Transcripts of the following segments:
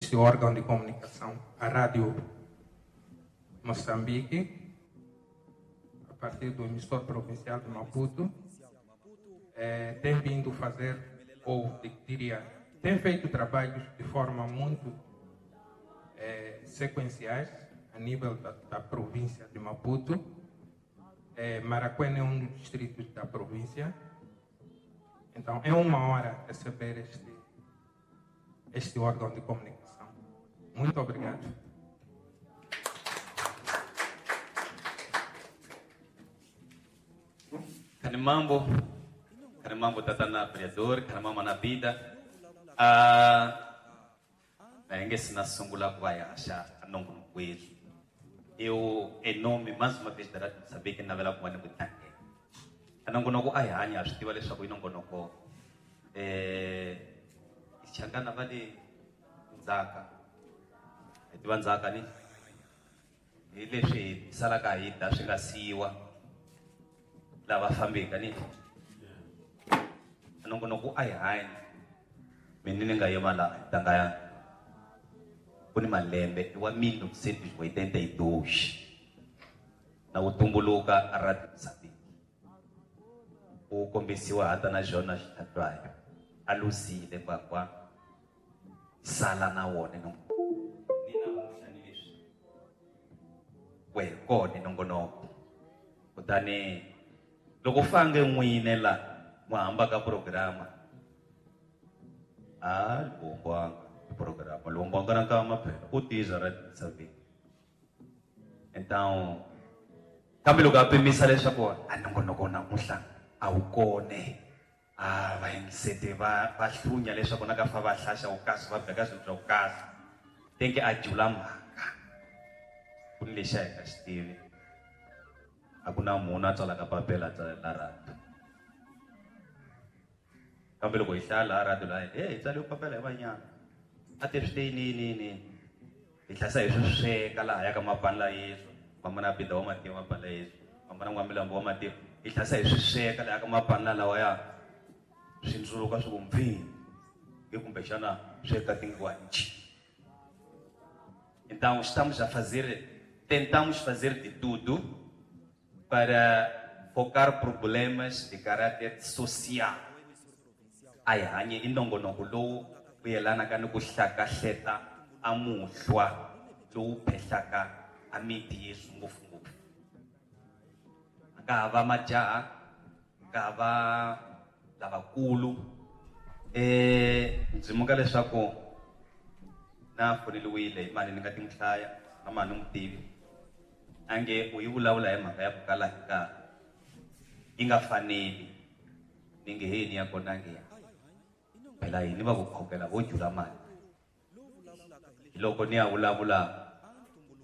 Este órgão de comunicação, a Rádio Moçambique, a partir do emissor provincial de Maputo, tem vindo fazer, ou diria, tem feito trabalhos de forma muito sequenciais a nível da província de Maputo. Marracuene é um dos distritos da província. Então, é uma hora receber este órgão de comunicação. Muito obrigado. Kanimambo, Kanimambo tatana vereador, Kanimambo na vida. Na sina sungula ku va hi haxa nongonokweni. Eu, em nome, mais uma vez, da Rádio Moçambique, navela ku va ni ku tlangela. Nongonoko a hi hanya, swi tiva leswaku i nongonoko. Changana va le ndzhaka. Hi tiva ndzhaka ni? Hi leswi hi salaka hi dya swi nga siyiwa lava fambeke ni? Nongonoko a hi hanyi. Mina ni nga yima laha ntanga ya ku ni malembe i wa 1982 na wu tumbuluka a Radio Moçambique. Wu kombisiwa hata na Jonas Xitlhatwayo. A luzile kwakwa sala na wona no ni namuntlha ni leswi we kona nongonoko. Kutani loko fange n'wine la mu hamba ka programa a lumbwanga programa lumbwanga na kama phela u tiza Radio Moçambique. Então kambe loko a pimisa leswaku a nongonoko namuntlha a wu kone. Va yingisete va hlunya leswaku na ka fa va hlaxa wu kahle, va beka swilo swa ku kahle. Tenke a jula mhaka. Ku ni lexi a hi nga xi tivi. A ku na munhu a tsalaka papila a tsalela radio. Kambe loko hi hlaya laha radio laha, hey, hi tsale papila hi vanyana. A te swi te yini, yini, yini. Hi hlayisa hi swi sweka laha ya ka mapani la Yesu. Mama na Bida wa mativa mapani la Yesu. Mama na N'wamilambo wa mativa. Hi hlayisa hi swi sweka laha ka mapani la lawa ya. Swi ndzuluka swi ku mpfini. Hi kumbexana swi eka tinguva nchi. Então, estamos a fazer, tentamos fazer de tudo para focar problemas de caráter social. A hi hanyi i nongonoko lowu wu yelanaka ni ku hlakahleta a muhlwa lowu phehlaka a miti yesu ngopfungopfu. A ka ha va majaha, a ka ha va lavakulu. Ndzi muka leswaku na foneliwile hi mani ni nga ti n'wi hlaya, na mani ni n'wi tivi. A nge u yi vulavula hi mhaka ya ku kala hi nkarhi. Yi nga faneli. Ni nge he ni ya kona nge ya. Phela yini va ku khokela vo jula mali. Hi loko ni ya vulavula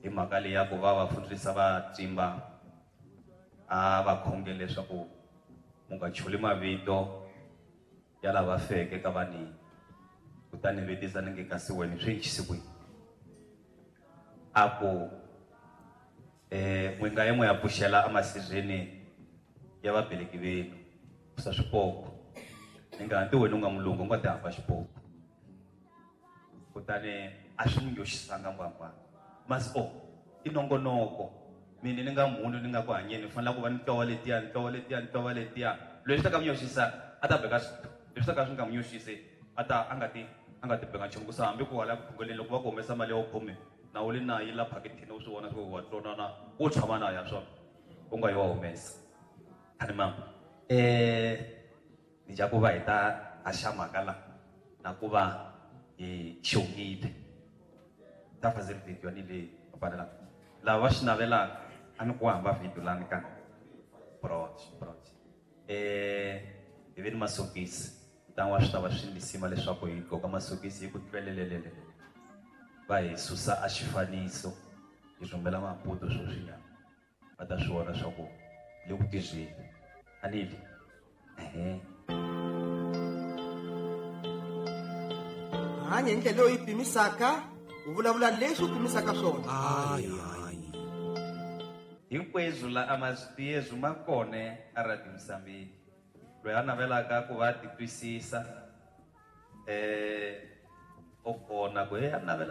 hi mhaka leyi ya ku va va fundisa va tsimba a va khongele leswaku mu nga chuli mavito ya lava feke ka vanini. Kutani vutisa ni nge kasi wena swi endlise ku yini? A ku, n'wi nga ye n'wi ya pfuxela emasirheni ya vabeleki venu, sa swipoko. Ni nga hanti wena u nga mulungu, u nga ti hamba xipoko. Kutani a swi n'wi nyoxisanga mbangwana. Mas o, i nongonoko. Mina ni nga munhu ni nga ku hanyeni, ni fanele ku va ni twa letiya, ni twa letiya, ni twa letiya. Leswi ta ka n'wi nyoxisa, a ta beka leswi ta ka swi nga n'wi nyoxisi, a ta, a nga ti, a nga ti beka nchumu. Ku sa hambi ku hala ku khongeleni, loko va ku humesa mali ya wu khume, na wu le na yi la phakethini, u swi vona swa ku wa tsonana, wo tshama na ya swona, u nga yi wa humesa. Khani mama, ni dya ku va hi ta haxa mhaka la, na ku va hi xongile. Ta fazer video ni le papalela. Lava va swi navelaka, a ni ku hamba video lani ka. Brot, brot. Hi ve ni masokisi. Ntangu wa swi ta va swi lisima leswaku hi gqoka masokisi hi ku tlwelelelelele. Va hi susa a xifaniso, hi rhumela Maputo sweswinyana. Va ta swi vona swa ku le ku tirheni. A ni li? Ehe. Hanya hi ndlela leyi u yi pimisaka, u vulavula leswi u pimisaka swona. Hayi, hayi. Hinkweswo la a mazwi ma kona a Radio Moçambique. Loyi a navelaka ku va titwisisa, O fona ku he a navela.